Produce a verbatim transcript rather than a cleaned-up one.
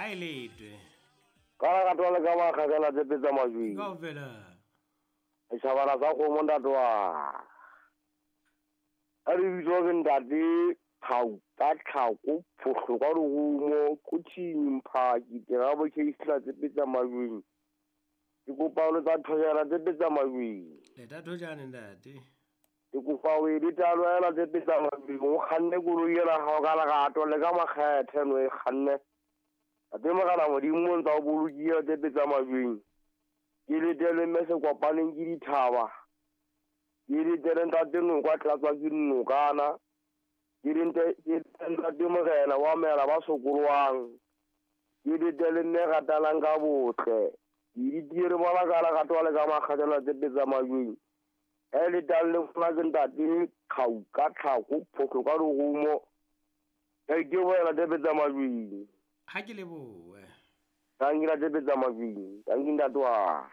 Ha e letwe. Ka la ka twala ka ba kgakala tse petsa majweng. Kaofela. Setjhabana sa kgomo ntate wa. Ka lebitso ke ntate Thau ka tlhako phohlo ka lerumo Kuthing Mphaki Terabo Keisla tse petsa majweng. Ke kopa o letsa thojana tse petsa majweng. Leta thojane ntate. Ke kopa o e letalo tse petsa majweng o kganne koloi ena hao ka lerato le ka makgethe no e kganne. Ate mogala modimo o ntsa o bolokile tse petsa majweng. Ke letele mme se kopaneng ke dithaba. Ke letele ntate nokwa tlatswa ke nokana. Ke ntate morena wa mela ba sokolwang. Ke letele mme ratalang ka botle. Ke ditiere bona ka lerato le ka makgethe tse petsa majweng. E letang le fona ke ntate Khau ka tlhako phohlo ka lerumo. E ke boela tse petsa majweng. Ha ke lebohe. Tanki la tse petsa majweng. Tanki ntate wa.